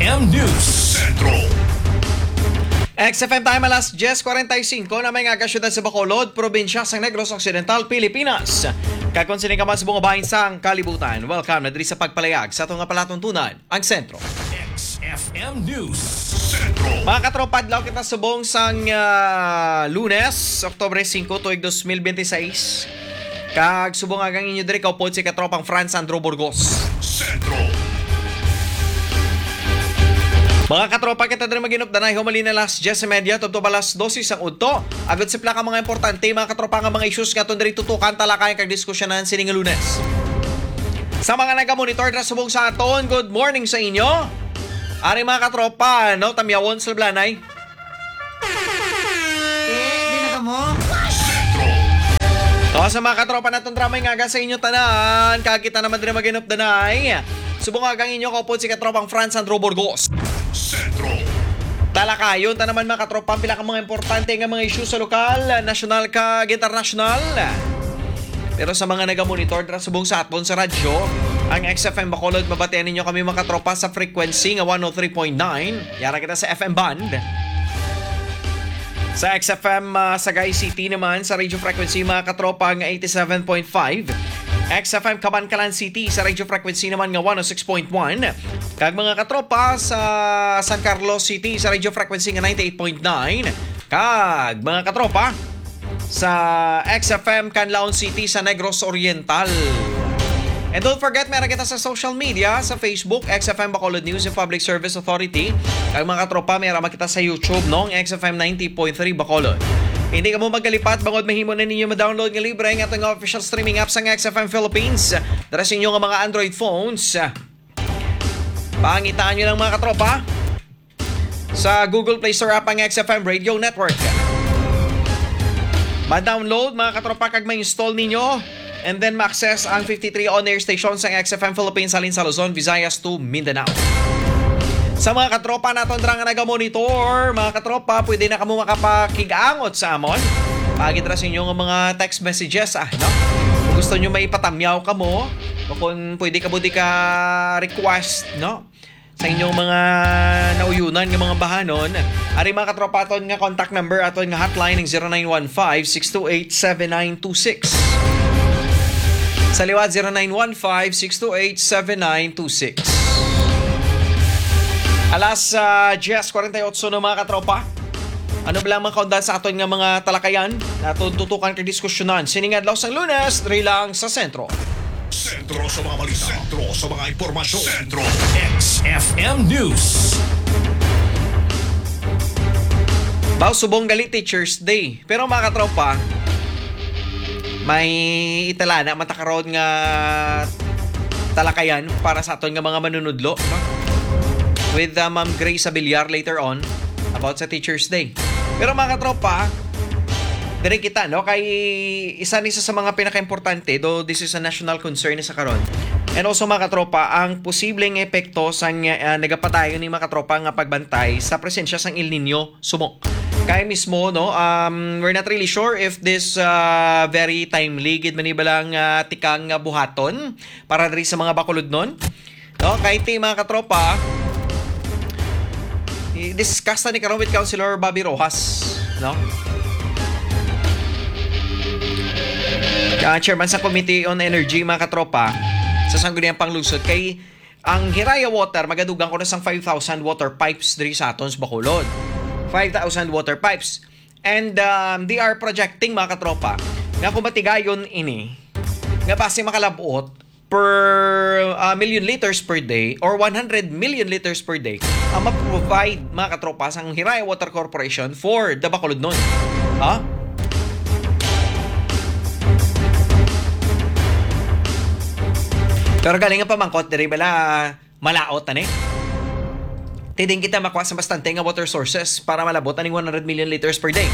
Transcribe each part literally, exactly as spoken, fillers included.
M News Central. X F M time alas diyes kwarenta y singko na may nga syudad sa Bacolod, probinsya sa Negros Occidental, Pilipinas. Kag kung sini ka man sa mga bahin sang kalibutan, welcome na diri sa pagpalayag sa ato nga palatuntunan, ang sentro. X F M News Central. Mga katropa, adlaw kita subong sang, ah, Lunes, Oktubre singko, tuig dos mil biyente seis. Kag subong agang inyo diri kaupod si katropang Franz Andrew Burgos. Sentro. Mga katropa, kita diri maginupdanay humalin na alas diyes y media tubtob alas dose sang udto. Agod sa pila ka mga importante, mga katropa, nga mga issues nga aton diri tutukan, talakayan kag diskusyonan sini nga Lunes. Sa mga nagamonitor na subong sa aton, good morning sa inyo. Ari, mga katropa, no, tamyawon sa Lablanay. Eh, di na kamo? O, sa mga katropa naton, dramay nga aga sa inyo tanan. Kag kita naman diri maginupdanay. Subong agang inyo kaupod si katropang Franz Andrew Burgos. Sentro. Talakayon ta naman, mga katropa, ang pila ka mga importante nga mga isyu sa lokal, nasyonal, kag internasyonal. Pero sa mga nagamonitor dira subong sa aton sa radyo, ang X F M Bacolod, mabatian ninyo kami, mga katropa, sa frequency nga one oh three point nine. Yara kita sa F M band. Sa X F M, ah, Sagay City naman, sa radio frequency, mga katropa, nga eighty-seven point five. X F M Kabankalan City, sa radio frequency naman nga one oh six point one. Kag mga katropa, sa San Carlos City, sa radio frequency nga ninety-eight point nine. Kag mga katropa, sa X F M Canlaon City, sa Negros Oriental. And don't forget, meron kita sa social media, sa Facebook, X F M Bacolod News and Public Service Authority. Kag mga katropa, meron kita sa YouTube, no, ang X F M ninety point three Bacolod. Hindi kamo magkalipat, bangod mahimo na ninyo ma-download nga libre ang aton nga official streaming app sang X F M Philippines. Dara sa inyo nga mga Android phones, pangitaan nyo lang, mga katropa, sa Google Play Store app ang X F M Radio Network. Ma-download, mga katropa, kag ma-install ninyo, and then ma-access ang fifty-three on-air stations sang X F M Philippines halin sa Luzon, Visayas to Mindanao. Sa mga katropa naton dira nga nagamonitor, mga katropa, pwede na kamo makapakig-angot sa amon. Paagi dira sa inyo nga mga text messages, ah, no? Kung gusto nyo maipatamyaw kamo, o kung pwede kamo di ka request, no? Sa inyong mga nauyunan nga mga bahanon, ari, mga katropa, aton nga contact number, aton nga hotline, ang zero nine one five, six two eight, seven nine two six. Sa liwat, zero nine one five, six two eight, seven nine two six. Alas, ah, diyes kwarenta y otso na, mga katropa. Ano ba lang mga kaundan sa aton nga mga talakayan na aton tutukan kag diskusyonan sining adlaw sang Lunes, diri lang sa Sentro? Sentro sa mga balita. Sentro sa mga impormasyon. Sentro. X F M News. Baw, subong gali Teachers Day. Pero, mga katropa, may italana man ta karon nga talakayan para sa aton nga mga manunudlo, no? With, uh, Ma'am Grace Abiliar later on about sa Teachers Day. Pero, mga katropa, diri kita, no? Kay isa ni sa, sa mga pinakaimportante, though this is a national concern sa karon. And also, mga katropa, ang posibleng epekto sang, uh, nagapadayon ni, mga katropa, nga pagbantay sa presensya sang El Nino subong. Kay mismo, no, um, we're not really sure if this, uh, very timely gid man ni bala nga tikang nga buhaton para diri sa mga Bacolodnon. No, kay ti, mga katropa, i-discuss na ni karon with Councilor Bobby Rojas, no? Ah, chairman sa Committee on Energy, mga katropa, sa Sangguniang Panglusod, kay ang Hiraya Water, magadugang ko na sang five thousand water pipes diri sa aton sa Bacolod. Five thousand water pipes. And, um, they are projecting, mga katropa, nga kung matigayon ini, nga basi makalabot per, uh, million liters per day or one hundred million liters per day ang ma-provide, mga katropa, sang Hiraya Water Corporation for the Bacolodnon. Ha? Pero galing ang pamangkot, diri bala malaot na ni? Ti diin kita makuha sa bastante nga water sources para malabot aning one hundred million liters per day.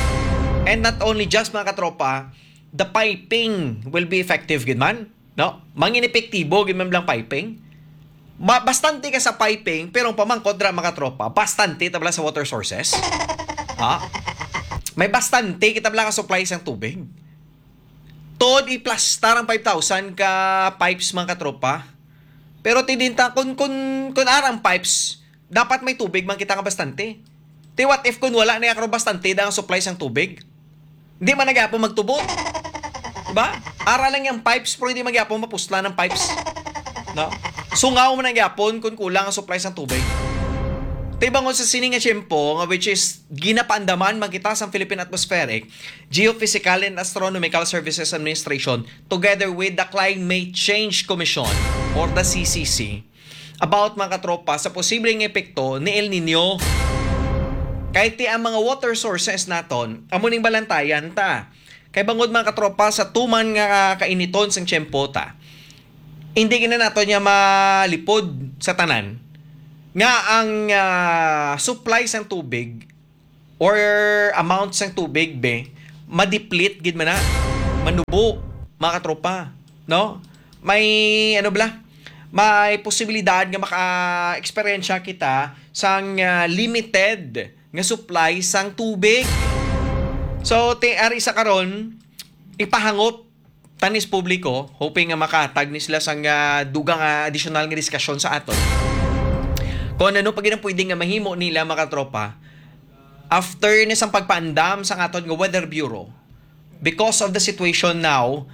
And not only just, mga katropa, the piping will be effective gid man, no? Mangin epektibo gid man lang piping. Ma-, bastante ka sa piping, pero ang pamangkot ra, mga tropa, bastante ta bala sa water sources. Ha? May bastante kita bala ka supply sang tubig. Tod iplastar ang five thousand ka pipes, mga katropa. Pero ti diin ta, kun, kun, kun arang pipes, dapat may tubig man kita nga bastante. Ti what if kun wala na karon bastante da ang supply sang tubig? Di man na gyapon magtubo. Diba? Ara lang yung pipes, pero hindi man gyapon mapuslan ang pipes. No? Sungaw man na gyapon kung kulang ang supply sang tubig. Ti bangod sa sini nga tiyempo, nga which is ginapaandaman man kita sang Philippine Atmospheric, Geophysical and Astronomical Services Administration together with the Climate Change Commission or the C C C about, mga katropa, sa posibleng epekto ni El Nino. Kay ti ang mga water sources naton, amo ning balantayan ta. Kay bangod, mga katropa, sa tuman nga kainiton sang tiyempo ta, hindi gina nato niya malipod sa tanan nga ang ah, supply sang tubig or amount sang tubig be ma-deplete gid man na, manubo, mga katropa, no? May ano bala, may posibilidad nga maka-eksperyensya kita sang ah, limited nga supply sang tubig. So, ti ari sa karon, ipahangop tanis publiko, hoping nga makahatag ni sila sang ah, dugang nga additional nga diskasyon sa aton. Kung ano pa gid ang pwede nga mahimo nila, mga katropa, after ni sang pagpaandam sa aton nga Weather Bureau because of the situation now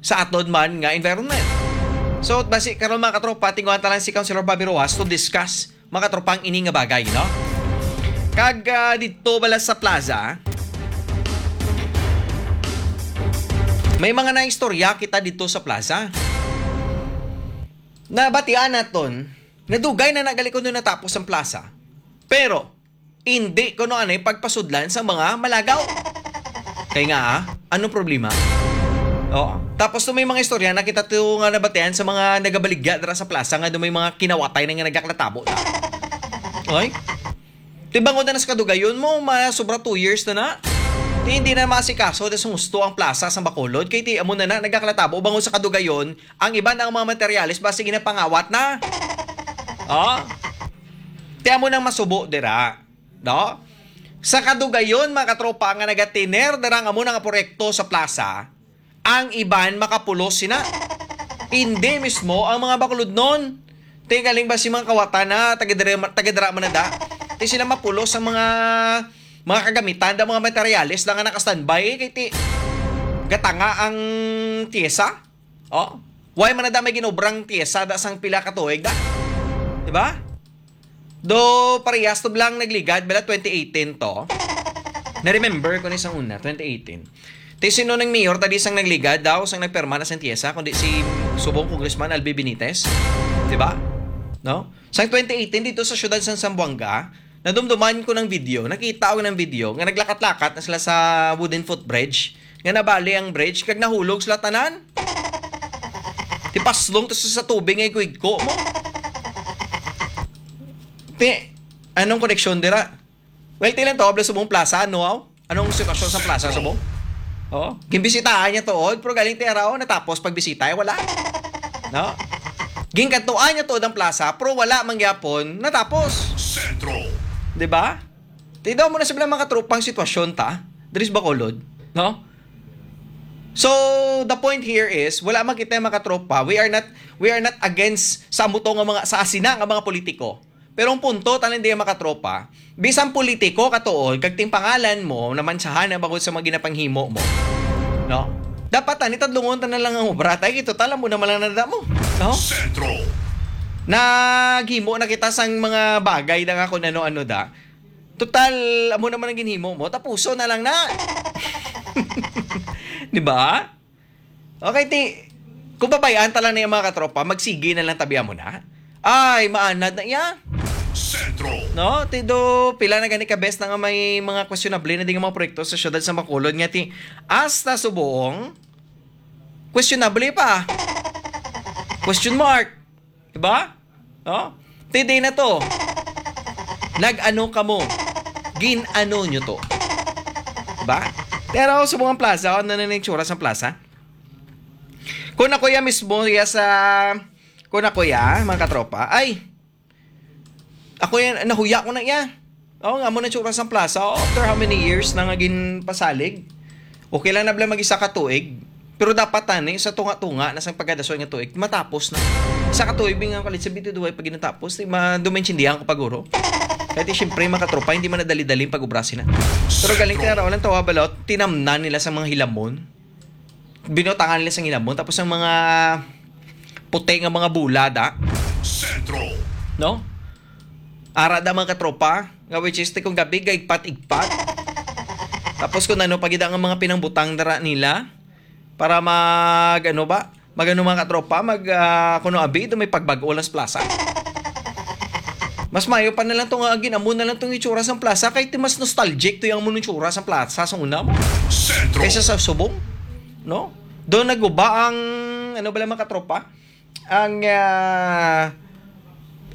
sa aton man nga environment. So, basi karon, mga katropa, tinguhan ta lang si Councilor Bobby Rojas to discuss, mga katropang, ini nga bagay, no? Kag ah, didto bala sa plaza, may mga naistorya kita didto sa plaza. Nabatian naton, nadugay na nagalikod na natapos ang plaza. Pero, hindi kuno anay pagpasudlan sa mga malagaw. Kay nga, ah, anong problema? Oo. Tapos to may mga istorya na kita to nga nabatian sa mga nagabaligya dira sa plaza nga do may mga kinawatay na nga nagaklatabo na. Oy? Ti bangod na sa kadugayon mo, ma sobra two years na na. Ti hindi na masikaso da sa gusto ang plaza sa Bacolod. Kay ti amo na na nagaklatabo bangod sa kadugayon ang iban ang mga materyales basi ginapangawat na. Oh. Ti amo nang masubo dira, no? Sa kadugayon, mga katropa, nga nagatiner dira nga amo nga proyekto sa plaza, ang iban makapulos sina. Hindi mismo ang mga bakulodnon. Ti galing ba si mga kawatan na taga dira, taga dira man na da? Ti sila mapulos ang mga mga kagamitan da mga materyales na nga naka-standby kay ti gatanga ang tiyesa. Oh, why man na da may ginobrang tiyesa da sang pila ka tuig da? Di ba? Do parehas to blang nagligad bala twenty eighteen to. Na-remember ko ni sang una, twenty eighteen. Ti sino nang mayor tadi sang nagligad daw, sang nagperma na sang tiyesa, kundi si subong Congressman Albi Benitez? Di ba? No? Sang twenty eighteen dito sa siyudad sang Zamboanga, nadumduman ko ng video, nakita ko ng video nga naglakat-lakat na sila sa wooden footbridge, nga nabali ang bridge kag nahulog sila tanan. Ti paslong to sa tubig nga igko-igko mo. Ti, anong koneksyon dira? Well, ti lang to, habla subong plaza, ano, aw? Anong sitwasyon sa plaza subong? Oh, gimbisitahan niya tuod, pero galing ti araw, natapos pagbisita, eh, wala. No? Ginkadtuan niya tuod ang plaza, pero wala man gyapon natapos. Sentro. Di ba? Ti daw mo na sila mga tropang sitwasyon ta, diri sa Bacolod, no? So, the point here is, wala man kita mga tropa. We are not, we are not against sa amo to nga mga, sa asina nga mga politiko. Pero ang punto, tanan diya mga tropa, bisan politiko ka tuod, kag ting pangalan mo, namansahan na bangod sa mga ginapanghimo mo. No? Dapat tani tadlungon ta na lang ang obra, tay, kay total amo naman lang nada mo. No? Sentro. Naghimo na kita sang mga bagay na nga kung ano-ano da. Total, amo naman ang ginhimo mo, tapuso na lang na. Di ba? Okay, ti, kung babayaan ta lang na yung mga katropa, magsigi na lang tabi mo na. Ay, maanad na iya. Sentro. No? Ti do, pila na gani ka bes na nga may mga questionable na di nga mga proyekto sa siyudad sa Bacolod nga ti, hasta subong, questionable pa. Question mark. Diba? No? Ti di na to. Nag-ano kamo? Gin-ano nyo to? Diba? Pero subong ang plaza, ano na yung tsura sa plaza? Kung ako ya mismo, ya sa, kung ako ya, mga katropa, ay, ako ya, nahuya ko na ya. Oh, nga mo na tsura sa plaza. Oh, after how many years na nga ginpasalig? Okay lang na bala mag-isa ka tuig. Pero dapat tani, sa tunga-tunga na sa pagkadason nga tuig, matapos na. Sa katuig nga kalit sa bituduway pag ginatapos, di ma-, dumaintindihan ko paguro. Kaya di, siyempre, mga katropa, hindi man nadali-dali ang pag-obra sina. Pero galing kaya raw lang tawa balot, tinamnan nila sa mga hilamon. Binutangan nila sa hilamon. Tapos ang mga puti nga mga bulada. Sentro. No? Ara da, mga katropa, nga which is, kung gabi, gaigpat-igpat. Tapos kung ano pa gid ang mga pinangbutang dara nila para mag, ano ba, mag, ano, mga katropa, mag, ah, kuno abi, ito may pagbag-o lang sa plaza. Mas mayo pa na lang to nga, ginamo na lang tong itsura sa plaza, kay ti mas nostalgic to yung amo ng itsura sa plaza sa una mo. Sentro. Kaysa sa subong, no? Doon naguba ang, ano ba lang, mga katropa? Ang, ah,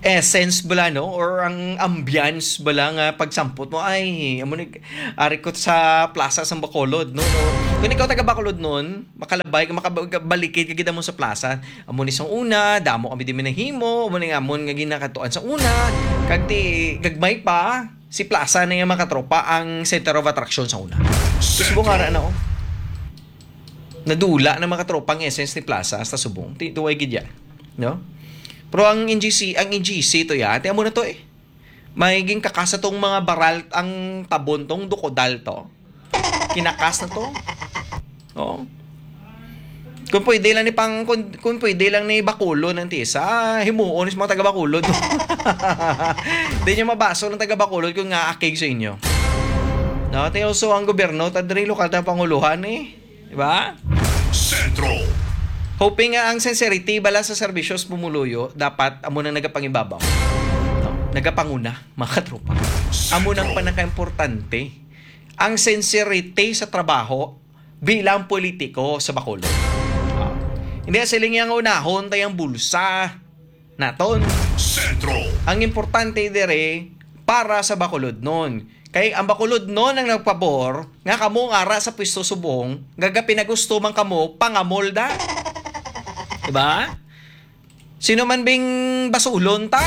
essence bala, no? Or ang ambience bala nga pagsampot mo, ay, amo ni, ari ko sa plaza sa Bacolod, no? No? Kung ikaw taga Bacolod noon, makalabay, makabalikid ka gid mo sa plaza. Amo ni sang una, damo kami di nahimo, amo ni amon nga ginakatuan sa una. Kag ti, gagmay pa, si plaza na yung mga katropa ang center of attraction sa una. Subong ara na, oh. Nadula na, mga katropa, ang essence ni plaza hasta subong. Ti, tuway gid yan, no? Pero ang N G C, ang N G C to ya, ti amo na to eh. May ginkakasa tong mga baral, ang tabon tong dukodal to. Kinakas na to. Oo. Kung pwede lang ni pang, kung, kung pwede lang ni Bacolod ang tisa, himuon sa mga taga Bacolod. Di nyo mabaso ng taga Bacolod kung nga akig sa inyo. No, ti also ang gobyerno, ta diri lokal ta panguluhan eh. Di ba? Sentro. Hoping nga ang sincerity bala sa serbisyo sa pumuluyo, dapat amo nang nagapangibabaw. No? Nagapanguna, mga katropa. Amo nang Sentro. Pinakaimportante. Ang sincerity sa trabaho bilang politiko sa Bacolod. Ah, hindi siling yang unahon tayang bulsa naton. Sentro. Ang importante dire para sa Bacolodnon. Kay ang Bacolodnon ang nagpabor nga kamo nga ara sa pwesto subong, nga gapinagusto man kamo pangamolda. Diba? Sino man bing basulon ta?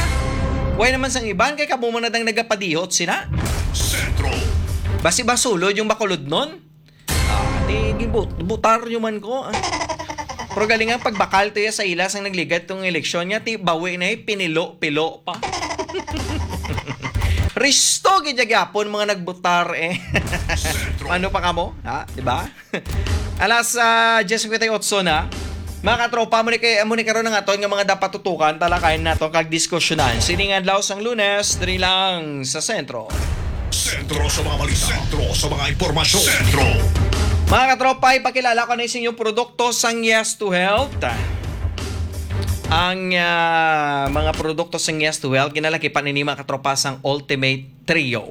Way naman sang iban kay kamo man nadang nagapadihot sina. Sentro. Basi basulod yung Bacolodnon? Ah, di, gibut-, butar nyo man ko, ah. Pero galing ang pagbakal to ya sa ila sang nagligad tong eleksyon niya, ti bawi na eh, pinilo-pilo pa. Risto gid ya gyapon mga nagbutar eh. Ano pa kamo? Ha? Di ba? Alas, ah, diyes cincuenta y ocho na. Mga katropa, mo ni kay, mo ni karon ang aton nga mga dapat tutukan, talakayan nato kag diskusyonan. Sining adlaw sang Lunes, diri lang sa Sentro. Sentro sa mga balita. Sentro sa mga impormasyon. Sentro. Mga katropa, ipakilala ko na sa inyong produkto sang Yes to Health. Ang, ah, mga produkto sang Yes to Health, ginalakipan ini, mga katropa, sang Ultimate Trio.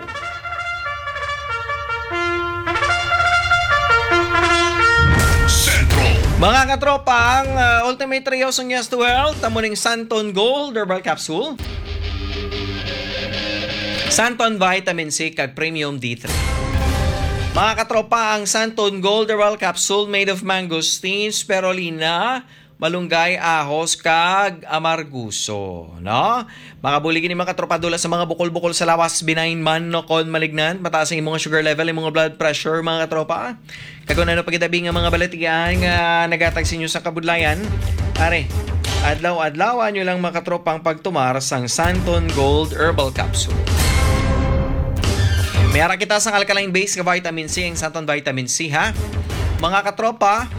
Sentro. Mga katropa, ang, ah, Ultimate Trio sang Yes to Health, amo ning Santon Gold Herbal Capsule, Santon Vitamin C, kag Premium D three. Mga katropa, ang Santon Gold Herbal Capsule made of mangosteen, spirulina, malunggay, ahos, kag amarguso, no? Makabulig ini, mga katropa, dula sa mga bukol-bukol sa lawas, benign man no kon malignant, mataas ang imong sugar level, imong blood pressure, mga katropa. Kag kung ano pa gid abi nga mga balatian nga nagatag sa inyo sa kabudlayan, are, adlaw-adlaw nyo lang, mga katropa, ang pagtumar sang Santon Gold Herbal Capsule. May ara kita sang alkaline base nga vitamin C, ang Santon Vitamin C, ha? Mga katropa,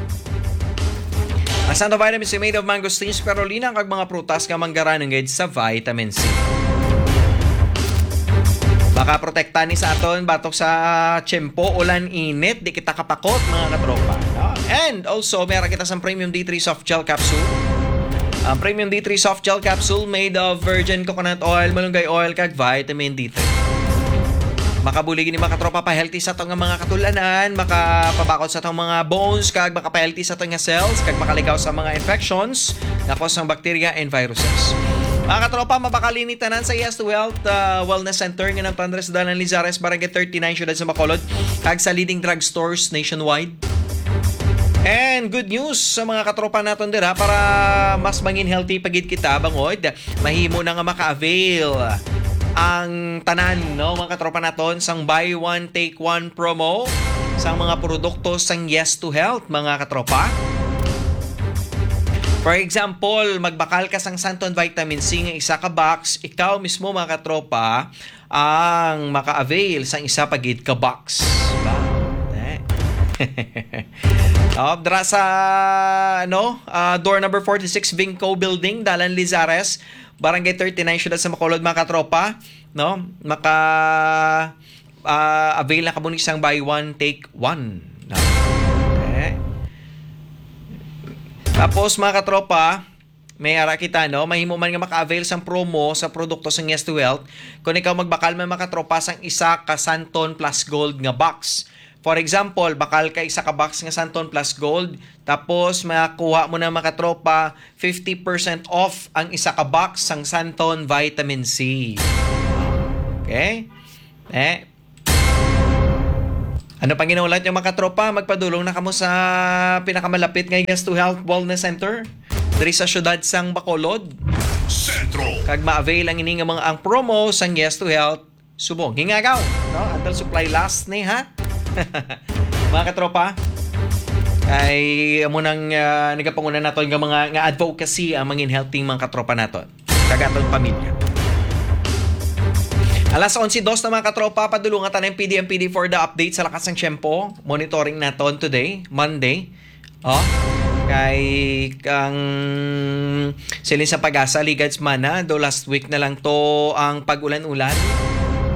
ang Santon Vitamin C made of mangosteen, spirulina, kag mga prutas nga manggaranungod sa vitamin C. Makaprotekta ni sa aton batok sa tiyempo, ulan, init, di kita kapakot, mga katropa, no? And also, meron kita sa Premium D three Soft Gel Capsule. Ang Premium D three Soft Gel Capsule made of virgin coconut oil, malunggay oil, kag vitamin D three. Makabulig ini, mga katropa, pa-healthy sa atong mga katulanan, makapabakod sa atong mga bones, kag makapahealthy sa atong nga cells, kag makaligaw sa mga infections nga cause ng bacteria and viruses. Mga katropa, mabakal ini tanan sa Yes to Health, uh, Wellness Center nga nagtandres Dalan Lizares, Barangay thirty-nine, Siyudad sa Bacolod, kag sa leading drugstores nationwide. And good news sa mga katropa naton dira para mas mangin healthy pa gid kita, bangod mahimo na nga maka-avail ang tanan, no, mga katropa naton, sang buy one, take one promo sang mga produkto sang Yes to Health, mga katropa. For example, magbakal ka sang Santon Vitamin C nga isa ka box, ikaw mismo, mga katropa, ang maka-avail sang isa pa gid ka box. Ba? Eh? Oh, dra sa, ano, ah, door number forty-six, Vinco Building, Dalan Lizares, Barangay thirty-nine, Siyudad sa Bacolod, mga katropa, no? Maka, ah, avail na kamo ni sang buy one, take one. No? Eh? Tapos, mga katropa, may ara kita, no? Mahimo man nga maka-avail sang promo sa produkto sang Yes to Health kung ikaw magbakal man, mga katropa, sang isa ka Santon Plus Gold nga box. For example, bakal ka isa ka box nga Santon Plus Gold, tapos makuha mo na, mga katropa, fifty percent off ang isa ka box sang Santon Vitamin C. Okay? Eh? Ano pang ginaulat yung, mga katropa? Magpadulong na kamo sa pinakamalapit nga Yes to Health Wellness Center diri sa siyudad sang Bacolod. Sentro. Kag ma-avail ang ini nga mga, ang promo sang Yes to Health Subong. Hingagaw, no? Until supply last ni, ha? Mga katropa, ay amo nang, ah, nagapanguna naton nga mga, nga advocacy ang mangin healthy, mga katropa naton kag aton pamilya. Alas onse dos na, mga katropa, padulungan ta na ang P D M P D for the update sa lakas ng tiyempo. Monitoring naton today, Monday. Oh, kay ang siling sa Pag-asa, ligad semana, do last week na lang to ang pag-ulan-ulan,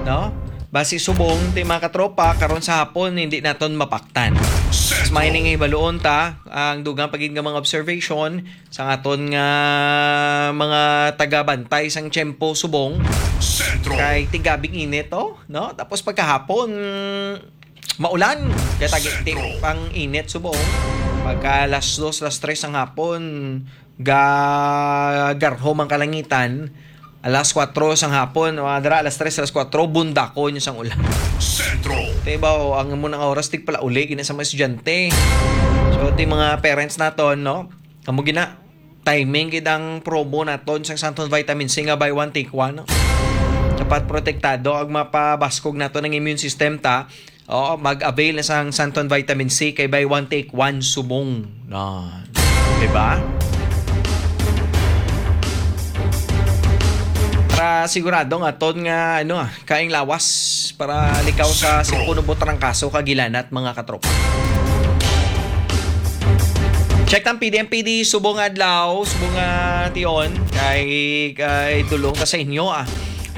no? Basi subong ti, mga katropa, karon sa hapon hindi naton mapaktan. Mas Sentro. Mahining hibaluon ta ang dugang pagid nga mga observation sang aton nga mga tagabantay sang tiyempo subong. Sentro. Kay tigabing init, oh, no? Tapos pagkahapon, maulan. Kaya tagi-, ti-, Sentro. Pang init subong. Pagka alas dos, alas tres ang hapon, ga-, garhom ang kalangitan. Alas kwatro sang hapon, o adra, alas tres, alas kwatro, bundakon yung sang ulan. Sentro. Te ba, o, ang munang oras, tigpalauli, gina sa mga estudyante. So, ti mga parents naton, no? Amo gina, timing gid ang promo naton sang Santon Vitamin C nga buy one, take one, no? Dapat protektado ang mapabaskog naton ang immune system ta. Oo, mag-avail na sang Santon Vitamin C kay buy one, take one subong. No. Diba? Para sigurado nga aton nga, ano, ah, kaing lawas para likaw sa Sentro. Sipon, ubo, trangkaso, kag hilanat, mga katropa. Check ang P D M P D subong adlaw, subong nga tion, kay, kay dulong ta sa inyo, ah,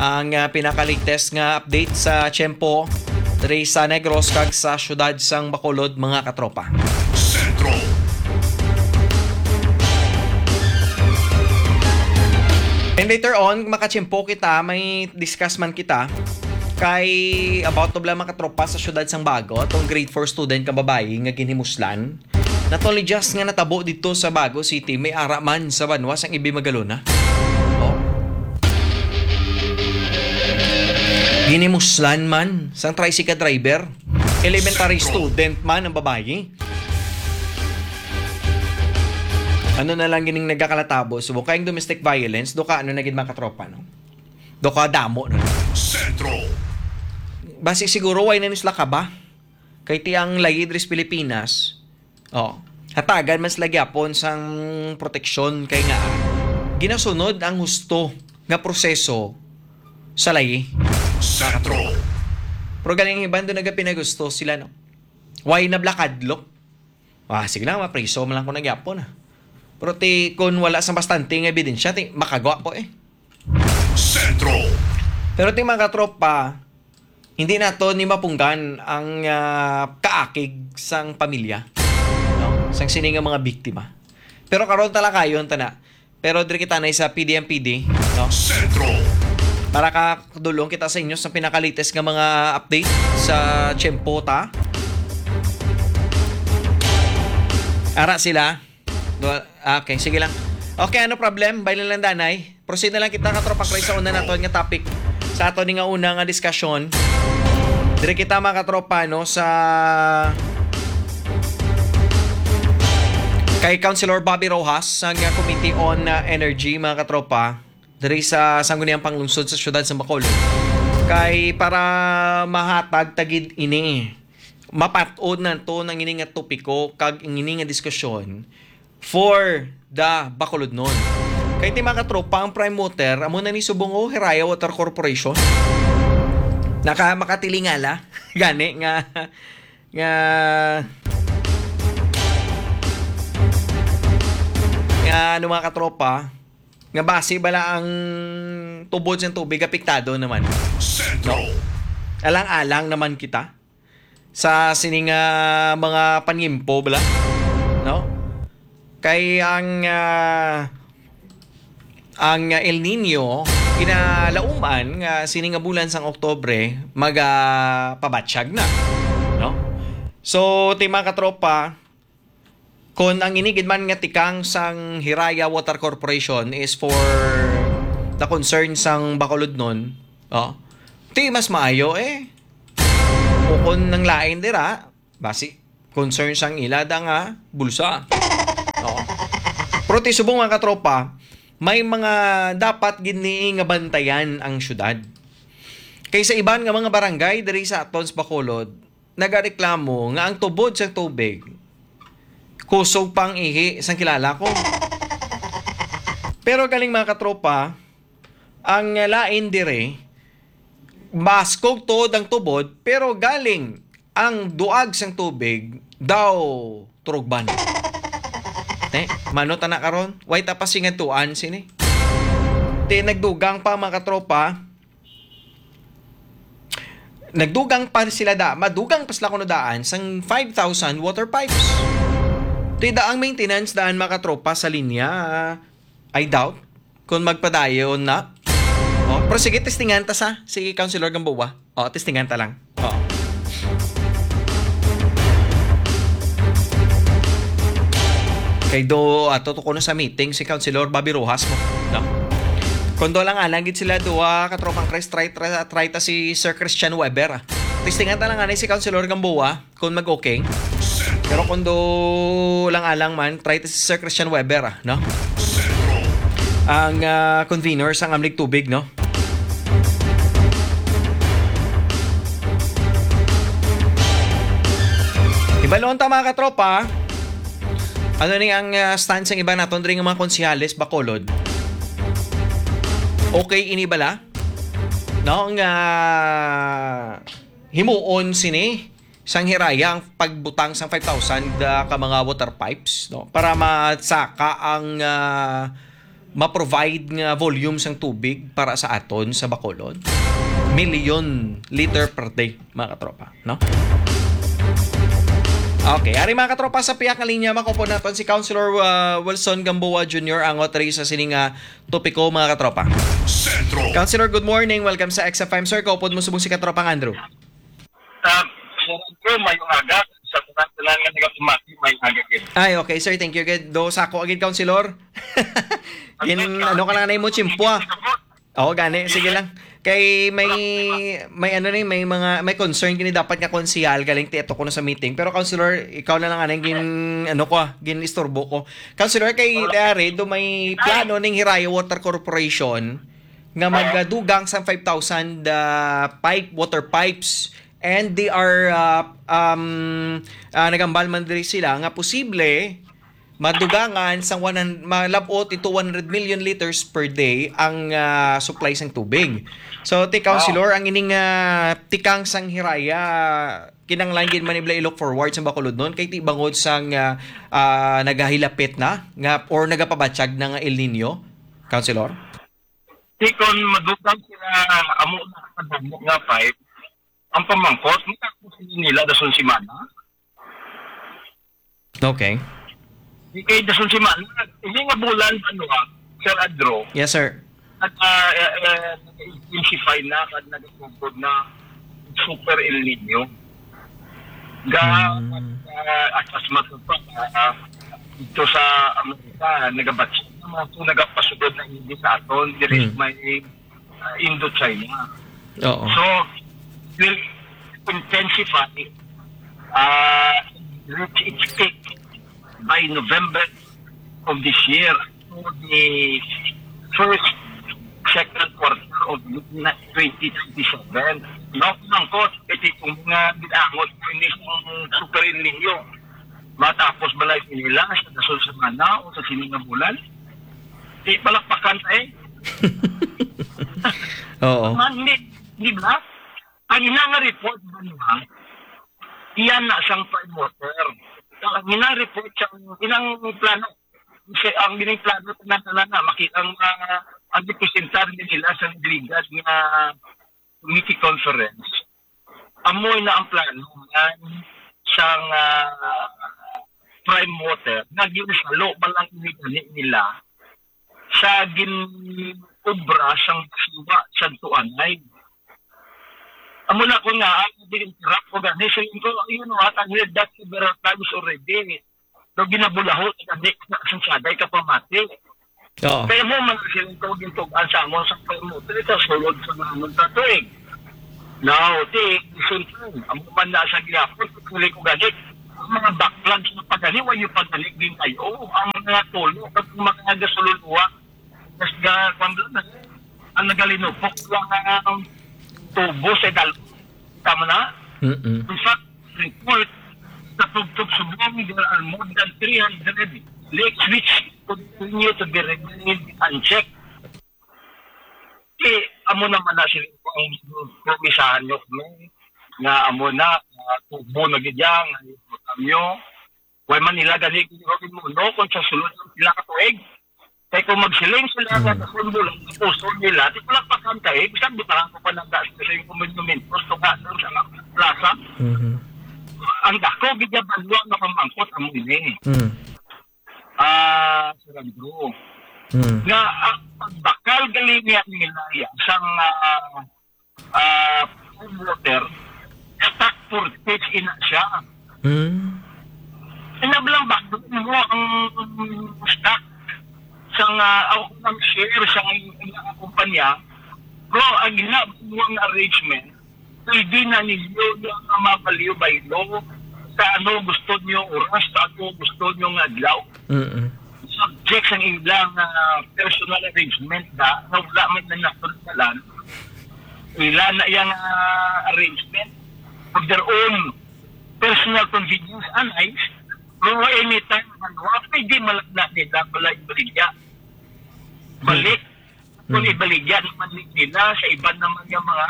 ang, ah, pinaka-latest nga update sa tiyempo diri sa Negros kag sa siyudad sang Bacolod, mga katropa. Sentro. And later on, makatiyempo kita, may discuss man kita kay about to lang, mga katropa, sa siyudad sang Bago, tong grade four student nga babayi nga ginhimuslan. Not only just nga natabo dito sa Bago City, may ara man sa banwa sang Ibi Magalona. Oh. Ginimuslan man sang tricycle driver. Elementary Sentro. Student man ang babayi. Ano na lang gining nagakalatabo? So, kayang domestic violence, do ka ano na gid, mga katropa, no? Do ka damo na. Sentro. Basi siguro, why na nila ka ba? Kay ti ang layi diri sa Pilipinas, oh, hatagan man sila gyapon sang proteksyon kay nga ginasunod ang husto nga proseso sa layi. Sentro. Pero galing ang iban doon nagapinagusto sila, no? Why na blakadlok? Ah, sige lang, mapriso man lang ko na gyapon, ah. Pero ti, kung wala sa bastante nga ebidensya, ti, makagwa ko eh. Sentro. Pero ti, mga katropa, hindi nato ni mapunggan ang, ah, kaakig sang pamilya, no? Sang sini nga mga biktima. Pero karon talakayon ta na. Pero diri kita na sa P D M P D, no? Sentro. Para ka dulong kita sa inyo sa pinaka-latest nga mga update sa tiyempo ta. Ara sila. Do-, ah, okay, sige lang. Okay, ano problem? Bailin lang, danay. Proceed na lang kita, katropa Chris, sa una naton nga topic. Sa ato ni nga una nga diskusyon. Diri kita, mga katropa, no, sa kay Councilor Bobby Rojas, sa nga Committee on, uh, Energy, mga katropa, diri sa Sangguniang Panglungsod sa siyudad sa Bacolod. Kay para mahatag ta gid ini, mapat-od nato nang ini nga topiko kag ini nga diskusyon for da Bacolodnon. Kay ti, mga katropa, ang prime mover, amo na ni subong, oh, Hiraya Water Corporation. Naka-, makatilingala gani nga, nga, nga, ano, mga katropa, nga basi bala ang tubod sang tubig apektado naman. Sentro. Alang-alang naman kita sa sining, ah, mga panyimpo, bala, no? Kay ang, ah, ang El Nino, kinalauman nga sini nga bulan sang Oktubre, magapabatsyag na, no? So, ti, mga katropa, kon ang ini gid man nga tikang sang Hiraya Water Corporation is for the concern sang Bacolodnon, oh, ti mas maayo, eh. O kon ang lain dira, basi concern sang ila da nga bulsa. Oo. Pero ti subong, mga katropa, may mga dapat gid ni nga bantayan ang syudad. Kay sa iban nga mga barangay diri sa aton sa Bacolod, nagareklamo nga ang tubod sa tubig kusog pang ihi sang kilala ko. Pero galing, mga katropa, ang lain dire, baskog tuod ang tubod, pero galing ang duag sang tubig daw turugban. Te, mano ta na karon? Way ta pa singadtuan sini. Te, nagdugang pa, mga katropa. Nagdugang pa sila da, madugang pa sila kuno daan sang five thousand water pipes. Te, da ang maintenance daan, mga katropa, sa linya, I doubt kung magpadayon na. Oh, pero sige, testingan ta sa si Councilor Gamboa. Oh, testingan ta lang. Oh. Kay do, ato to kuno sa meeting si Councilor Bobby Rojas mo, no? Kung do lang anang gid sila duha, katropang Chris, try, try, try ta si Sir Christian Weber, ah. Testingan ta lang anay si Councilor Gamboa kung mag-okay. Pero kung do lang alang man, try ta si Sir Christian Weber, ah, no? Ang, ah, convener sang Amlig Tubig, no? Ibalon ta, mga katropa. Ano ni ang, ah, stance sang iban naton diri nga mga konsehales, Bacolod? Okay ini bala? No, nga himuon sini sang Hiraya ang pagbutang sang five thousand, ah, ka mga water pipes, no, para masaka ang, ah, ma-provide nga volume sang tubig para sa aton sa Bacolod. Million liter per day, mga katropa, no? Okay, ari, mga katropa, sa pihak nga linya, makuha naton si Councilor, ah, Wilson Gamboa Junior, ang authority sa sining, ah, topiko, mga katropa. Sentro. Councilor, good morning. Welcome sa X F M, sir. Kaupod mo subong si katropang Andrew. Ah, Sir Andrew, mayong aga. Sa mga tanan nga nagapamati, mayong aga gid. Ay, okay, sir. Thank you gid. Do sako agad, Councilor. Gin, ano ka lang na imo, chimpwa. Oo, gani. Sige lang. Kay may, may ano ni, may mga, may concern gini dapat nga konsehal, galing ti ato kuno sa meeting. Pero, Councilor, ikaw na lang anang gin, ano ko, ah, gin istorbo ko. Councilor, kay, ah, Redo, may plano ning Hiraya Water Corporation nga magdugang sang five thousand, ah, pipe, water pipes, and they are, ah, um, ah, nagambal man diri sila nga posible madugangan sang one hundred, malab-ot into one hundred million liters per day ang, ah, supply sang tubig. So, ti, Councilor, ang ining, ah, tikang sang Hiraya, kinahanglan gid man nila i-look forward sa Bacolodnon kay ti bangod sang, ah, ah, nagahilapit na nga or nagapabatyag na nga El Nino, Councilor? Di kon madugang sila, amo na kadamo nga pipe, ang pamangkot, matapos nila dason semana. Okay. Di kay dason semana, hindi nga bulan, ano, ah, Sir Andrew, Yes, sir. nag, ah, eh, eh, nag-intensify na, kag nagtugod na super El Nino. Ga, Hmm. ah, as, as matter of fact, ah, ah, dito sa Amerika, nagabatch na mga ito, nagapasugod na hindi sa aton, there is Hmm. may, ah, Indochina. Oo. So, will intensify, ah, reach its peak by November of this year to the first, second quarter of twenty twenty-seven. No, mangkot, ito itong mga binangot, hindi itong super El Nino. Matapos balay nila sa dasol semana o sa sini nga bulan. Di palakpakan ta eh. Oo. Man, di, di ba? Ang ina nga report ba niya, iyan na siyang prime water. Ang ina report siya, inang plano. Kasi ang gining plano tanan-tanan na makita ang uh, ang gipresentar ni nila sa legal nga committee conference. Amoy na ang plano man sang ah, prime water nga ginsalo man lang ini gani nila sa gin-obra sang siwa sa Tuanay. Amo na ko nga, ang din-interact ko gani, so yun ko, you know what, I heard that several times already. Daw ginabulaho sa gani sa saday ka pamati. Oo. Kaya mo man silang tawag yung tugan sa amon sa pagmuti sa sulod sa naman sa tuig. Now, ti, isun ang man na sa gihapon, tuloy ko gani. Ang mga backlog sa pagani, wa yung pagani din kayo. Ang mga tulo, at mga gasululuwa, mas ga, kwan lang, ang nagalinupok lang ang tubo sa dal. Tama na? Mm-mm. In fact, report sa Tugtog Subong, there are more than three hundred lakes which continue to be remain unchecked. Di, amo naman na sila ang promisahan nyo kami nga amo na, uh, tubo na gid yan, ang nyo. Why man nila gani kung gawin mo, no? Kung sa sulod ng pila ka tuig, kay kung magsiling sila mm. Sa sundo lang, sa puso nila, di ko lang pakanta eh, bisan butangan ko pa ng daan sa yung kumonumento, gusto nga doon sa plaza. Mm-hmm. Ang dako, gid niya banwa nga pamangkot ang ini. Mm. Ah, Sir Andrew. Mm. Nga, ang pagbakal gali niya nila ya, sang uh, uh, water, stock purchase ina siya. Mm. Inablang ba mo ang stock sa nga ako ang share sa nga kumpanya, bro, ang ginagawa nga arrangement, pwede na ninyo yung mga value by law sa ano gusto nyo oras, sa ano gusto nyo nga adlaw. Mm-mm. Subject sa ilang uh, personal arrangement da, na wala man na nasundalan, ila na yung uh, arrangement of their own personal convenience and eyes, pero anytime man, wa pwede malagna nila, wala ibaligya. Balik, kung ibaligya naman nila sa iban naman yung mga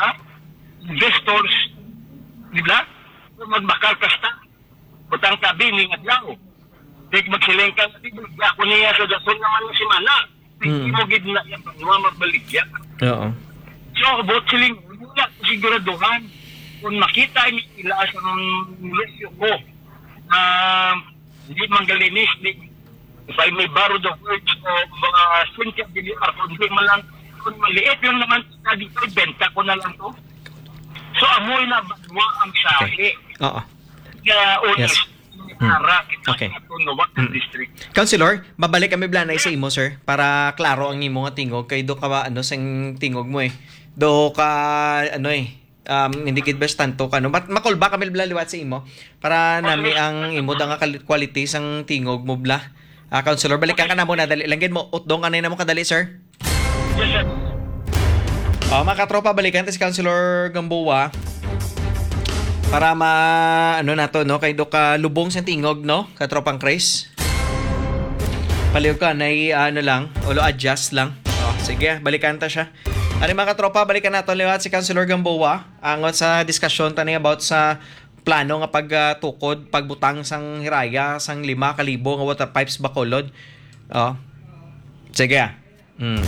investors, di ba? Kung magbakal ka sa butang tabi ni adlaw. Di magsiling ka, di ba? Ako niya sa dason naman ng simana. Mm. Hindi mo gid na yung mga magbaligya. Oo. So, about siling, wala ko siguraduhan. Kung makita ni ila sa mga lusyo ko, na hindi manggalinis, di, if I may borrow the words of uh, Cynthia Villar, kung hindi man lang, kung maliit lang naman, sa dito, benta ko na lang to. So, amoy na banwa ang sahi. Oo. Kaya, honest, Yes. Hmm. para kita Okay. sa Tunuwak Hmm. District. Councilor, mabalik kami blanay sa imo, sir, para klaro ang imo nga tingog kay do ka ba, ano, sing tingog mo eh. Do ka, ano eh, um, hindi gid best tanto ka, no? Mat makulba kami bla liwat sa imo para nami ang imo da nga kal- quality sang tingog mo bla. Ah, Councilor, balikan ka na muna, dali lang gid mo. Utdong ka na mo kadali, sir. Yes, sir. Oh, mga katropa, balikan ta si Councilor Gamboa para ma ano nato, no, kay do ka lubong sa tingog, no, katropang Chris. Paliw ka na ano lang, ulo adjust lang. Oh, sige, balikan ta siya. Ano, mga katropa, balikan nato liwat si Councilor Gamboa angot sa diskusyon tani about sa plano nga pagtukod, pagbutang sang hiraya sang lima ka libo nga water pipes Bacolod. Oh. Sige. Mm.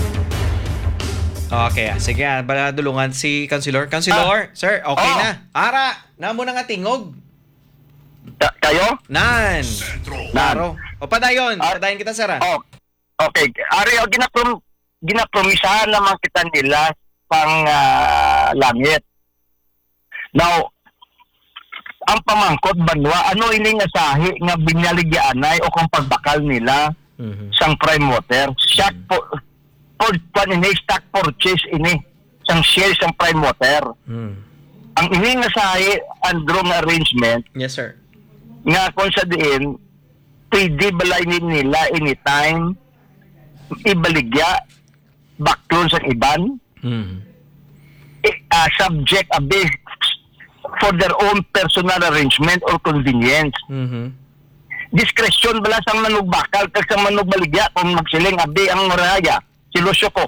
Okay, ah, sige, ah, bala dulungan si Councilor. Councilor, sir, okay Oh. na. Ara, namo na nga tingog. Ta- kayo? Nan. Klaro. O padayon, Ah. padayon kita, sir. Ah. Oh, okay. Ari, ang ginaprom ginapromisahan naman kita nila pang ah, langit. Now, ang pamangkot banwa, ano ini nga sahi nga binyaligianay o kung pagbakal nila Mhm. sang prime water? Stock po, for, kwan ini, stock purchase ini sang share sang prime water. Mm. Ang ini nga sahi, Andrew, nga arrangement, Yes, sir. nga kung sa diin, pwede bala ini nila anytime ibaligya, baklon sa iban, Mm. eh, ah, subject a bit for their own personal arrangement or convenience. Mhm. Diskresyon bala sang manugbakal kag sang manugbaligya kung magsiling, "Abi ang Raya, si Lucio ko."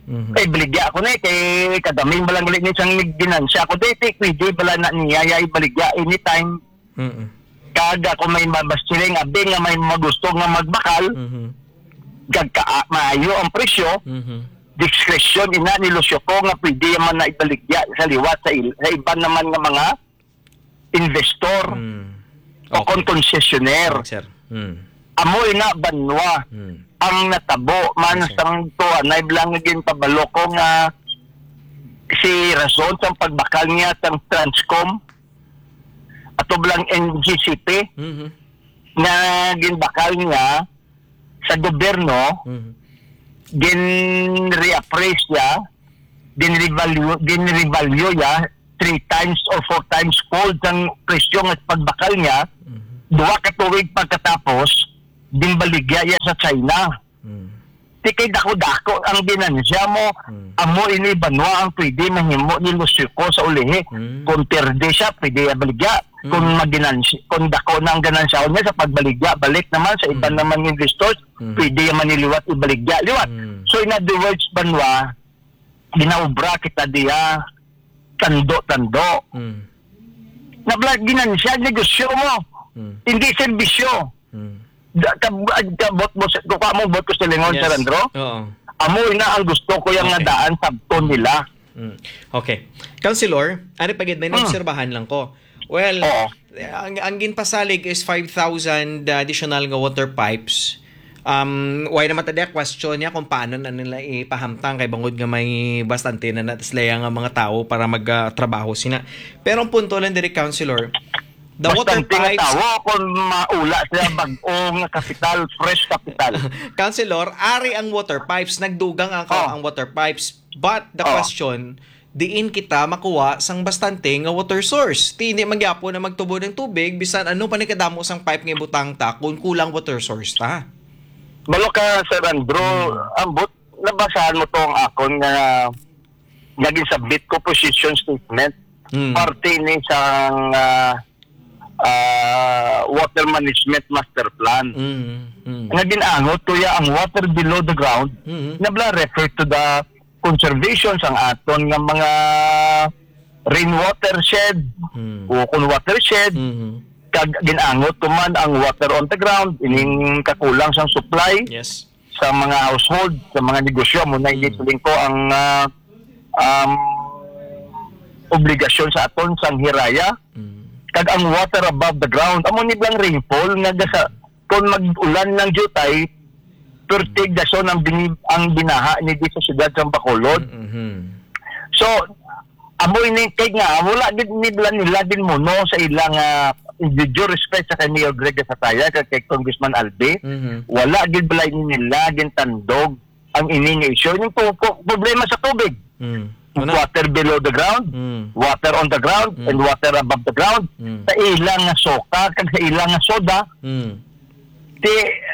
Mhm. Kay baligya ko na eh, kay kadaming balang gali ni sang ginansya ko. Di, di, pwede bala na niya, ya, ibaligya anytime. Mm-mm. Kag ako may mabasiling, abi nga may magusto nga magbakal, Mhm. kag ka, maayo ang presyo, Mhm. diskresyon ina ni Lucio ko nga pwede man na ibaligya sa liwat sa, il, sa iban naman nga mga investor Mm. o Okay. kon konsesyoner. Yes, sir. Mm. Amo ina banwa Mm. ang natabo man Yes, sir. sang tuanay lang nga ginpabalo ko nga si rason sang pagbakal niya sang Transcom ato lang N G C P Mhm. nga ginbakal niya sa gobyerno, Mhm. gin-reappraise niya, gin-revalue, gin-revalue niya three times or four times fold sang presyo nga pagbakal niya, Mhm. duha ka tuig pagkatapos, ginbaligya niya sa China. Mm. Di kay dako-dako ang ginansya mo, Mm. amo ini banwa ang pwede mahimo ni Lucio ko sa ulihi. Mm. Kung perde siya, pwede iya baligya. Kung Mm. maginansi-, kung dako na ang ganansya niya sa pagbaligya, balik naman sa iban Mm. naman nga investors, Mm. pwede iya maniliwat ibaligya. Liwat. Mm. So, in other words, banwa, ginaobra kita diya, tando-tando. Mm. Nabla-, ginansya, negosyo mo. Mm. Hindi serbisyo. Mm. Da-, kab-, ag-, kabot mo sa, kukuha mo bot ko sa lingon, Yes. Sir Andro? Oo. Amo ina ang gusto ko yung Okay. nga daan sabton nila. Mm. Okay. Councilor, ari pa gid, may Mm. naobserbahan lang ko. Well, Oo. ang, ang ginpasalig is five thousand additional nga water pipes. Um, why naman tadi question niya kung paano na nila ipahamtang kay bangod nga may bastante na, na sila nga mga tao para mag, ah, trabaho sina. Pero ang punto lang diri, Councilor, the water Bastante nga pipes tawo kung maula sila bag-o nga kapital, fresh kapital. Councilor, ari ang water pipes, nagdugang ang, Oh. ang water pipes. But the Oh. question, diin kita makuha sang bastante nga water source? Ti hindi man gyapon na magtubo ng tubig, bisan ano pa ni kadamo sang pipe nga ibutang ta kung kulang water source ta. Balo ka, Sir Andrew, Hmm. ambot, nabasahan mo to ang akon nga naging submit ko position statement. Hmm. Parte ni sang, ah, ah, water management master plan. Hmm. Hmm. Nga gin-angot ko ya ang water below the ground, Hmm. nabla refer to the conservation sang aton nga mga rainwater shed Hmm. o kun watershed. Hmm. Kag gin-angot ko man ang water on the ground, ining kakulang sang supply Yes. sa mga household, sa mga negosyo. Amo na hindi Mm. siling ko ang, ah, um, obligasyon sa aton sang hiraya. Mm. Kag ang water above the ground, amo ni blang rainfall nga gasa, kung mag-ulan ng jutay, pertig dason ang bini-, ang binaha ni di sa siyudad sang Bacolod. Mm-hmm. So, amo ini kay nga, wala gid ni bala nila ginmuno sa ilang, ah, with due respect sa kay Mayor Greg Gasataya, kag kay Congressman Albi, Mhm. wala gid bala nila gintandog ang ini nga issue. Yung po, po, problema sa tubig. Mm. Ano? Water below the ground, Mm. water on the ground, Mm. and water above the ground. Mm. Sa ilang nga soka, kag sa ilang nga soda, Mm. Ti,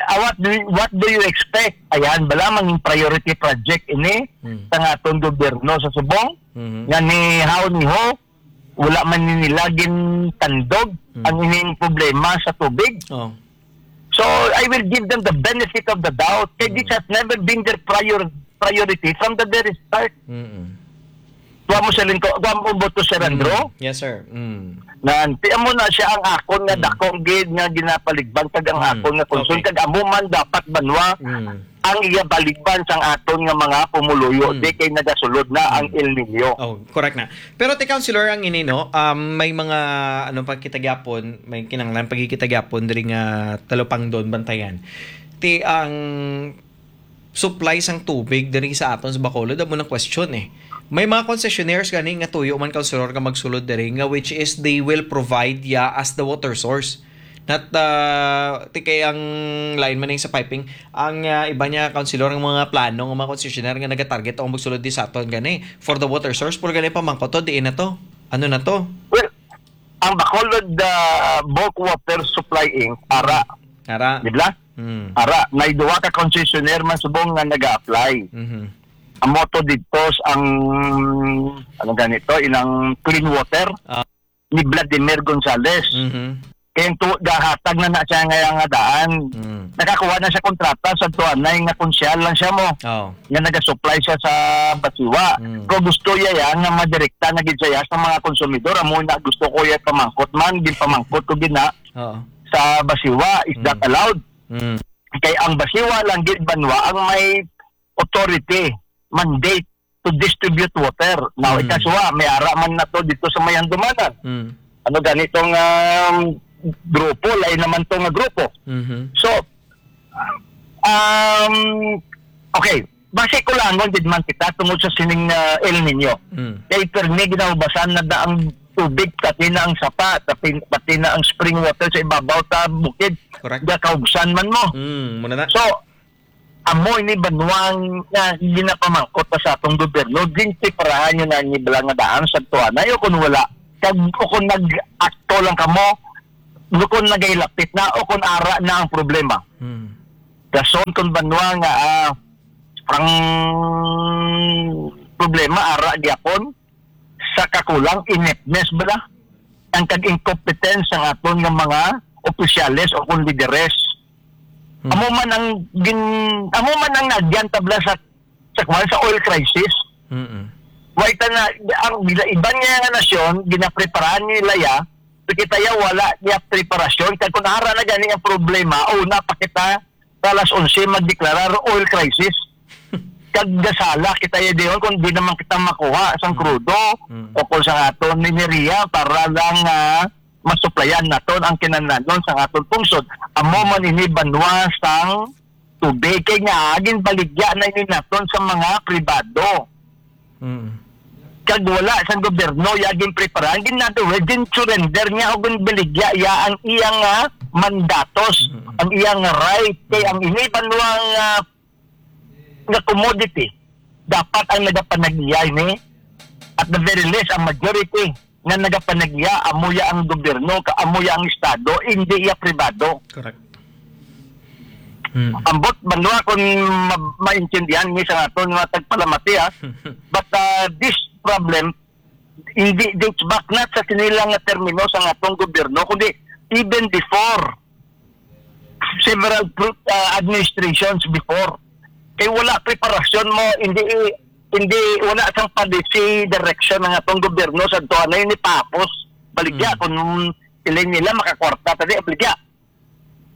ah, what do you, what do you expect? Ayan, bala, mangin priority project ini Mm. sa nga aton gobyerno sa Subong, Mhm. nga ni how ni ho, wala man ni nila gintandog Mm. ang ining problema sa tubig. Oh. So, I will give them the benefit of the doubt. Kay this Mm. has never been their prior-, priority from the very start. Mm-mm. Kuha mo sa lingko, kuha mo boto, Sir Andrew? Mm. Yes, sir. Mm. Nan, ti amo na siya ang akon nga Mm. dakong gid nga ginapaligban kag ang Mm. akon nga concern Okay. kag amo man dapat banwa Mm. ang iya baligban sang aton nga mga pumuluyo Mm. di kay nagasulod na ang Mm. El Niño. Oh, correct na. Pero ti Councilor ang ini, no, um, may mga ano pa kita gyapon, may kinahanglan pagkikita gyapon diri nga talupangdon bantayan. Ti ang supply sang tubig diri sa aton sa Bacolod, amo nang question eh. May mga concessionaires gani nga tuyo man, Councilor, nga magsulod diri, nga which is they will provide ya as the water source. Not, ah, ti kay ang line man ning sa piping, ang, ah, iba niya, Councilor, ang mga plano ng mga concessionaire nga nagatarget ang magsulod di sa aton gani for the water source, pero gani pamangkot to, diin na to? Ano na to? Well, ang Bacolod, ah, Bulk Water Supply Inc, ara. Ara. Di ba? Mm. Ara, may duha ka concessionaire man subong nga nag-a-apply. Mhm. Amo to dito ang, ano ganito, inang Clean Water Ah. ni Vladimir Gonzales. Mhm. Kaya to, gahatag na na siya nga, nga daan. Mm. Nakakuha na siya kontrata sa tuanay nga konsyal lang siya mo. Oh. Nga nagasupply siya sa Basiwa. Mm. Pero gusto iya yan nga madirekta na gid siya sa mga konsumidor. Amo na gusto ko iya pamangkot man, ginpamangkot ko gid na Oo. sa Basiwa. Is that Mm. allowed? Mm. Kay ang Basiwa lang gid banwa ang may authority, mandate to distribute water. Now, Mm. ikasuwa, may ara man na to dito sa may Handumanan. Mm. Ano ganitong, um, grupo, lain naman to nga grupo. Mhm. So, um, okay, basi ko lang gid man kita tungod sa sining, uh, El Nino. Mm. Kay permi ginahubasan na da ang tubig, pati na ang sapa, pati, pati na ang spring water sa ibabaw ta bukid. Correct. Gakaugsan man mo. Mm, muna na. So, amo ini banwang nga ginapamangkot pa sa atong gobyerno, ginpreparahan nyo na ni bala nga daan sa tuanay o kung wala. Kag o kung nag-akto lang kamo, o kung nagailapit na o kung ara na ang problema. Hmm. Dason kung banwa nga, ah, ang problema ara gyapon sa kakulang ineptness bala ang kag incompetence sang aton nga mga opisyales o kung lideres. Hmm. Amo man ang gin-, amo man ang nagyan tabla sa, sa kwan, sa oil crisis. Mm-mm. Why ta na, ang iban nga nga nasyon, ginapreparahan nila ya, pero kita ya wala niya preparasyon. Kag kung ara na gani ang problema, una pa kita sa alas onse magdeklarar oil crisis. Kag gasala kita ya diyon kung di naman kita makuha sang Mm. krudo Mm. o kung sa aton mineriya para lang, ah, masuplayan naton ang kinahanglanon sang aton pungsod. Amo man ini banwa sang tubig, kay nga ginbaligya na ini naton sa mga pribado. Mm. Kag wala sang gobyerno ya ginpreparahan, gin-, in other words, gin-surrender niya o ginbaligya ya ang iyang, ah, mandatos, Mm. ang iyang right. Kay ang ini banwa nga, nga commodity, dapat ang nagapanag-iya ini, at the very least, ang majority nga nagapanag-iya, amo ya ang gobyerno, ka-, amo ya ang estado, hindi ya pribado. Correct. Hmm. Ambot banwa kung ma-, maintindihan ni sa aton nga tagpalamati, ha. But, uh, this problem, hindi dates back na sa sinilang nga termino sa atong gobyerno, kundi even before several pro-, uh, administrations before. Kay wala preparasyon mo, hindi, hindi, wala sang policy direction ang atong gobyerno sa tuwa na yun ipapos. Baligya, Mm. kung piling nila makakwarta, tadi, baligya.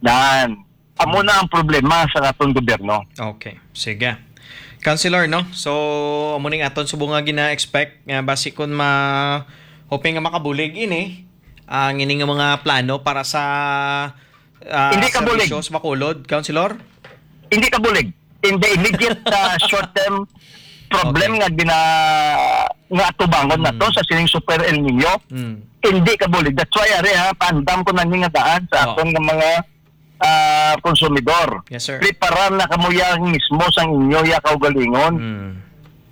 Dan, amo na ang problema sa atong gobyerno. Okay, sige. Councilor, no? So, amo ning aton subong nga gina-expect nga basi kun ma-, hoping nga makabulig ini ang ining mga plano para sa, ah, Hindi kabulig. serbisyo sa Bacolod, Councilor? Hindi kabulig. In the immediate, ah, short term problem Okay. nga gina-, nga atubangon na to Mm. sa sining Super El Nino, Mm. hindi kabulig. That's why, ari, ha, paandam ko na ni nga daan sa Oo. aton nga mga, ah, konsumidor. Yes, sir. Preparar na kamo ya mismo sang inyo ya kaugalingon. Mm.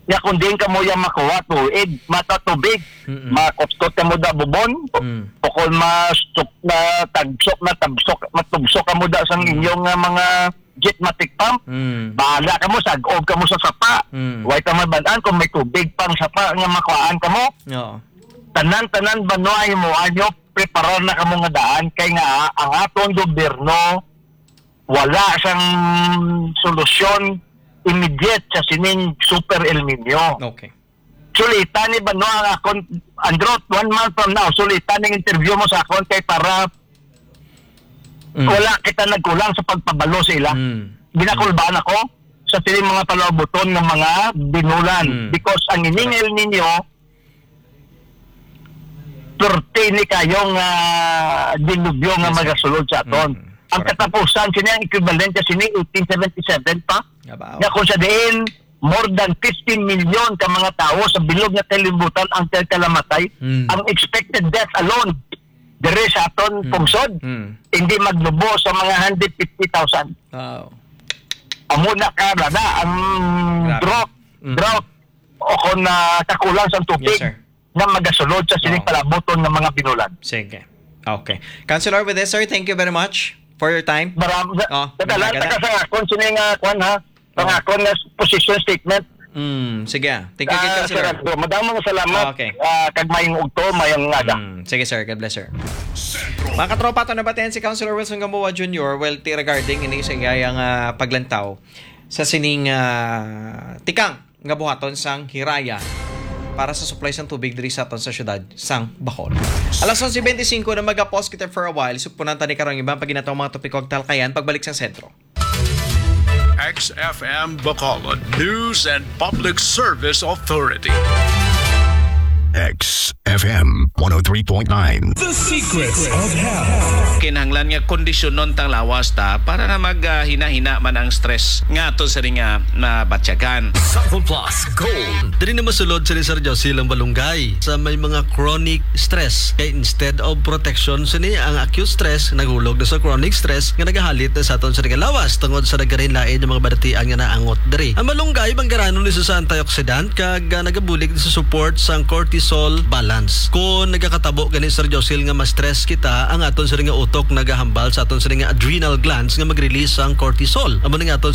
Ya kung diin kamo ya makuha tuig, mata tubig, Mm-mm. makuptot kamo da bubon, Mm. o kung mastuk-, na tagsok, na tabsok, matubsok kamo da sang Mm. inyong, ah, mga jetmatic pump. Mm. Bahala kamo, sag-ob kamo sa sapa. Mm. Way ta mabalaan kung may tubig pang sapa nga makuhaan kamo. Oo. Tanan-tanan banwa himuan nyo, preparar na kamo nga daan kay nga ang aton gobyerno wala sang solusyon immediate sa sining Super El Nino. Okay. Sulita ni banwa ang akon, Andro, one month from now, sulita ning interview mo sa akon kay para Mm. wala kita nagkulang sa pagpabalo sa ila. Mm. Ginakulbaan ako sa sining mga palabuton nga mga binulan Mm. because ang ining Correct. El Nino perti ni kayo nga dilubyo nga Yes, sir. magasulod sa aton. Mm. Ang Correct. katapusan, sini ang equivalent ka sini eighteen seventy-seven pa. Nga kung sa diin, more than fifteen million ka mga tawo sa bilog nga kalibutan ang kalamatay. Mm. Ang expected death alone, diri sa aton Mm. pungsod, Mm. hindi maglubo sa mga hundred fifty thousand. Wow. Amo na ka na, na ang Grabe. drought, Mm. drought, o kung na kakulang sa tubig Yes, sir. nga magasulod sa sining Oo. palabuton nga mga binulan. Sige. Okay. Councilor, with this, sir, thank you very much for your time. Maram-, sa, Oh, sa tanan, binagada. taga sa akon, sini nga, kwan, ha? Ang Oo. akon nga position statement, Mm, sige. Thank you, Ah, Councilor. Sir Arthur, madamo nga salamat. Okay. Ah, kag mayong udto, mayong aga. Mm, sige, sir. God bless, sir. Mga katropa, ato nabatian si Councilor Wilson Gamboa Junior, well, ti regarding ini sa iyang, ah, paglantaw sa sining, ah, tikang nga buhaton sang Hiraya para sa supply sang tubig diri sa aton sa siyudad sang Bohol. Alas onse bente singko na, maga-pause kita for a while. Supunan ta ni karong ibang paginatong mga topiko ug talakayan pagbalik sa sentro. X F M Bacolod News and Public Service Authority. X F M one oh three point nine. The Secrets of Health. Kinahanglan nga kondisyonon tang lawas ta para na maghina-hina man ang stress nga ato sa nga nabatyagan. Sample Plus Gold. Diri na masulod si Sir Josie ang malunggay sa may mga chronic stress. Kay instead of protection sini, ang acute stress naghulog na sa chronic stress nga nagahalit na sa aton sa nga lawas tungod sa nagkalain-lain nga mga balatian nga naangot diri. Ang malunggay, manggaranon ni sa antioxidant kag, ah, nagabulig sa support sang cortisol balance. Kung nagakatabo gani, Sir Josil, nga ma-stress kita, ang aton sa nga utok nagahambal sa aton sa nga adrenal glands nga mag-release sang cortisol. Amo ni nga aton